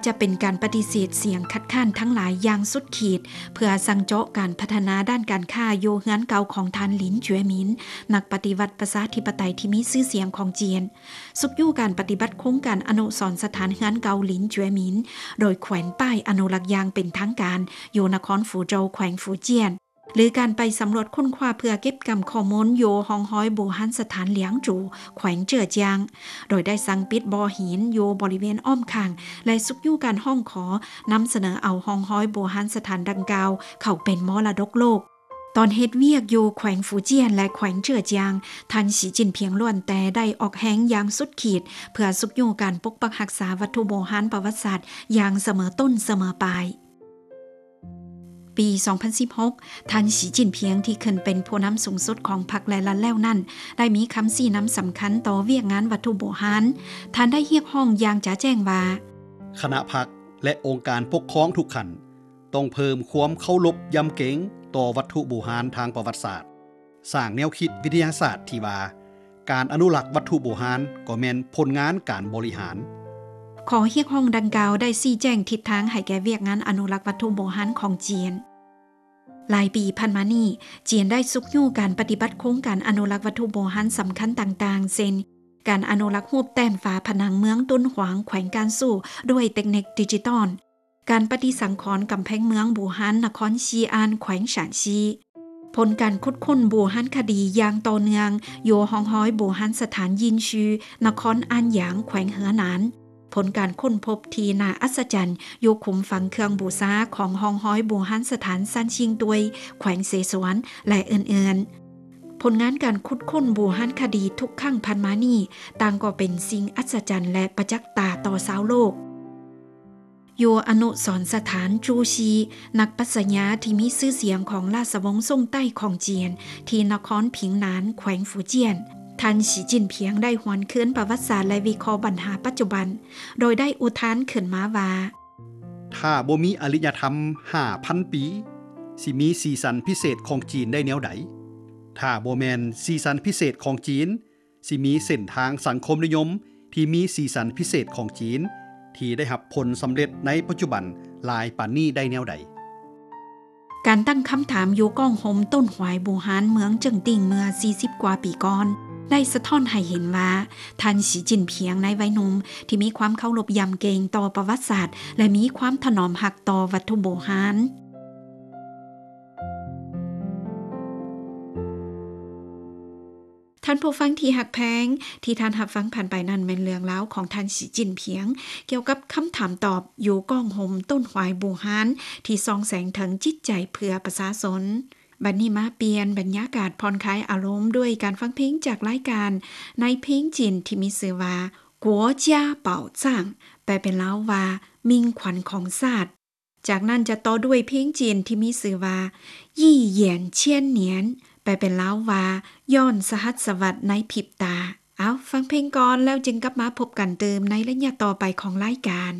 ຈະເປັນການປະຕິເສດສຽງຄັດຄ້ານທັງຫຼາຍຢ່າງສຸດຂີດ ເພື່ອສັ່ງເຈາະການພັດທະນາດ້ານການຄ້າຢູ່ເຮືອນເກົ່າຂອງທ່ານ Lin Juemin ນັກປະຕິວັດປະຊາທິປະໄຕທີ່ມີຊື່ສຽງຂອງຈີນ, ຊຸກຍູ້ການປະຕິບັດໂຄງການອະນຸສອນສະຖານເຮືອນເກົ່າ Lin Juemin ໂດຍແຂວນປ້າຍອະນຸລັກຢ່າງເປັນທາງການ ຢູ່ນະຄອນຟູໂຈວ ແຂວງຟູຈຽນ ຫຼື ການໄປສຳຫຼວດຄົ້ນຄວ້າເພື່ອເກັບກຳຂໍ້ມູນຢູ່ຮ່ອງຮອຍບູຮານສະຖານຫຼຽງຈູ ແຂວງເຈີອຈຽງ ໂດຍໄດ້ສັ່ງປິດບໍ່ຫີນຢູ່ບໍລິເວນອ້ອມຂ້າງ ແລະ ຊຸກຍູ້ການຮ້ອງຂໍນຳສະເໜີເອົາຮ່ອງຮອຍບູຮານສະຖານດັ່ງກ່າວເຂົ້າເປັນມໍລະດົກໂລກ. ຕອນເຮັດວຽກຢູ່ແຂວງຟູຈຽນ ແລະ ແຂວງເຈີອຈຽງ, ທ່ານ ສີຈິ້ນຜິງ ລ້ວນແຕ່ໄດ້ອອກແຮງຢ່າງສຸດຂີດ ເພື່ອຊຸກຍູ້ການປົກປັກຮັກສາວັດຖຸບູຮານປະຫວັດສາດຢ່າງສະເໝີຕົ້ນສະເໝີປາຍ. ປີສອງພັນສິບຫົກ, ທ່ານ ສີຈິ້ນຜິງ ທີ່ຂຶ້ນເປັນຜູ້ນຳສູງສຸດຂອງພັກ ແລະ ລັດແລ້ວນັ້ນ, ໄດ້ມີຄຳຊີ້ນຳສຳຄັນຕໍ່ວຽກງານວັດຖຸບູຮານ. ທ່ານໄດ້ຮຽກຮ້ອງຢ່າງຈະແຈ້ງວ່າ, ຄະນະພັກ ແລະ ອົງການປົກຄອງທຸກຂັ້ນ ຕ້ອງເພີ່ມຄວາມເຄົາລົບຢຳເກງຕໍ່ວັດຖຸບູຮານທາງປະຫວັດສາດ, ສ້າງແນວຄິດວິທະຍາສາດທີ່ວ່າ ການອະນຸລັກວັດຖຸບູຮານກໍແມ່ນຜົນງານການບໍລິຫານ. ຂໍ້ຮຽກຮ້ອງດັ່ງກ່າວໄດ້ຊີ້ແຈງທິດທາງໃຫ້ແກ່ວຽກງານອະນຸລັກວັດຖຸບູຮານຂອງຈີນ. ຫຼາຍປີຜ່ານມານີ້, ຈີນໄດ້ຊຸກຍູ້ການປະຕິບັດໂຄງການອະນຸລັກວັດຖຸບູຮານສຳຄັນຕ່າງໆ ເຊັ່ນ ການອະນຸລັກຮູບແຕ້ມຝາຜະໜັງເມືອງຕຸນຫວາງ ແຂວງການຊູ້ ດ້ວຍເຕັກນິກດິຈິຕອນ, ການປະຕິສັງຂອນກຳແພງເມືອງບູຮານ ນະຄອນຊີອານ ແຂວງຊານຊີ, ຜົນການຂຸດຄົ້ນບູຮານຄະດີຢ່າງຕໍ່ເນື່ອງຢູ່ຮ່ອງຮອຍບູຮານສະຖານຢິນຊື ນະຄອນອານຢາງ ແຂວງເຫີໜານ, ຜົນການຄົ້ນພົບທີ່ໜ້າອັດສະຈັນຢູ່ຂຸມຝັງເຄື່ອງບູຊາຂອງຮ່ອງຮອຍບູຮານສະຖານຊານຊິງຕວຍ ແຂວງເສສວນ ແລະ ອື່ນໆ. ຜົນງານການຂຸດຄົ້ນບູຮານຄະດີທຸກຄັ້ງຜ່ານມານີ້ ຕ່າງກໍເປັນສິ່ງອັດສະຈັນ ແລະ ປະຈັກຕາຕໍ່ຊາວໂລກ. ຢູ່ອະນຸສອນສະຖານຈູຊີ ນັກປັດຊະຍາທີ່ມີຊື່ສຽງຂອງລາຊະວົງຊົງໃຕ້ຂອງຈີນ ທີ່ນະຄອນຜິງໜານ ແຂວງຟູຈຽນ, ທ່ານ ສີຈິ້ນຜິງ ໄດ້ຫວນຄືນປະຫວັດສາດ ແລະ ວິເຄາະບັນຫາປັດຈຸບັນ, ໂດຍໄດ້ອຸທານຂຶ້ນມາວ່າ, ຖ້າບໍ່ມີອາລິຍະທຳຫ້າພັນປີ, ຊິມີສີສັນພິເສດຂອງຈີນໄດ້ແນວໃດ? ຖ້າບໍ່ແມ່ນສີສັນພິເສດຂອງຈີນ, ຊິມີເສັ້ນທາງສັງຄົມນິຍົມທີ່ມີສີສັນພິເສດຂອງຈີນ ທີ່ໄດ້ຮັບຜົນສຳເລັດໃນປັດຈຸບັນຫຼາຍປານນີ້ໄດ້ແນວໃດ? ການຕັ້ງຄຳຖາມຢູ່ກ້ອງໂຮມຕົ້ນຫວາຍບູຮານເມືອງເຈິງຕິ່ງເມື່ອສີ່ສິບກວ່າປີກ່ອນ ໄດ້ສະທ້ອນໃຫ້ເຫັນວ່າ ທ່ານ ສີຈິ້ນຜິງ ໃນໄວໜຸ່ມ ທີ່ມີຄວາມເຄົາລົບຢຳເກງຕໍ່ປະຫວັດສາດ ແລະ ມີຄວາມຖະໜອມຮັກຕໍ່ວັດຖຸບູຮານ. ທ່ານຜູ້ຟັງທີ່ຮັກແພງ, ທີ່ທ່ານຮັບຟັງຜ່ານໄປນັ້ນແມ່ນເລື່ອງລາວຂອງທ່ານ ສີຈິ້ນຜິງ ກ່ຽວກັບຄຳຖາມຕອບຢູ່ກ້ອງໂຮມຕົ້ນຫວາຍບູຮານ ທີ່ສ່ອງແສງເຖິງຈິດໃຈເພື່ອປະຊາຊົນ. ບັດນີ້ມາປ່ຽນບັນຍາກາດຜ່ອນຄາຍອາລົມດ້ວຍການຟັງເພງຈາກລາຍການ ໃນເພງຈີນທີ່ມີຊື່ວ່າ กัວຈາເປົ່າຈ້າງ ແປເປັນລາວວ່າ ມິ່ງຂວັນຂອງຊາດ. ຈາກນັ້ນຈະຕໍ່ດ້ວຍເພງຈີນທີ່ມີຊື່ວ່າ ยี่หยวน千年 ແປເປັນລາວວ່າ ຍ້ອນສະຫັດສະວັດໃນພິບຕາ. ເອົາ, ຟັງເພງກ່ອນ ແລ້ວຈຶ່ງກັບມາພົບກັນຕື່ມໃນໄລຍະຕໍ່ໄປຂອງລາຍການ.